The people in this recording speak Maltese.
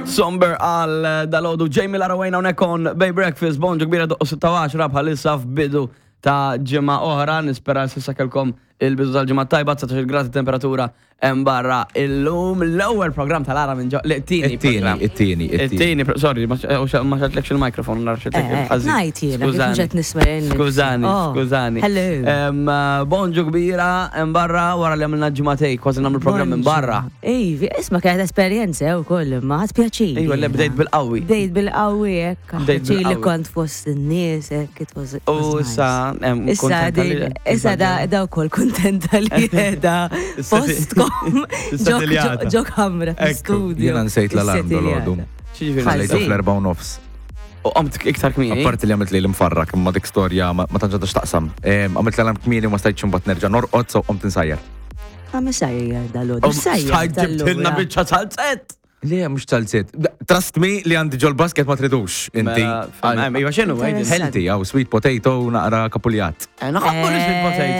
Somber għal dalodu Jamie Larawajna hawnhekk on Bay Breakfast, bonġu kbira doqqu 6 bħalissa f'bidu ta' ġimgħa oħra, nispera s'issa kellkom il-bidu tal-ġimgħa tajba, 19 grad temperatura hemm barra illum l-ewwel programm tal-ara minn ġo, le, it-tieni. It-tieni, programm. it-tieni, it-tieni. It-tieni, sorry, ma xatlekx il-mikrofon, nara xatlek Eh, eh, il-ħażin. Ngħid jiena, kif Skużani. mhux qed nisma' jien. Skużani, Oh, skużani. Hello. Bonġu kbira, hemm barra wara li għamilna ġimgħatej, kważi nagħmlu programm minn barra. Ivi, isma' kienet esperjenza wkoll, imma ħadd pjaċir. Ejwa, le bdejt bil-qawwi. Bdejt bil-qawwi hekk, Bdejt pjaċir li bil-qawwi. kont fost in-nies hekk, it was it U was nice. issa, Issa kontenta li- din, issa da da wkoll kuntenta li qiegħda postkom Is-setiljata. ġo kamra Ekku. studio. Jiena nsejt l-alarm dal-għodu. X'jiġifieri? Ħallejtu Ħażin. fl-4:30. U qomt iktar kmieni. Apparti li għamilt li l-imfarrak, imma dik storja ma tantx għandha x'taqsam. Għamilt l-alarm kmieni u ma stajtx imbagħad nerġa' norqod, so qomt insajjar. Għam sajjar dal-għodu. Um, Sajjar Stajt ġibtilna dal-għodu. biċċa salzett. Le, mhux talziet. Trust me li għandi ġol basket ma tridux, inti. Mela, Iva x'inhu, għidilna. Healthy, għaw sweet potato naqra kapuljat. Naħabbu li sweet potato.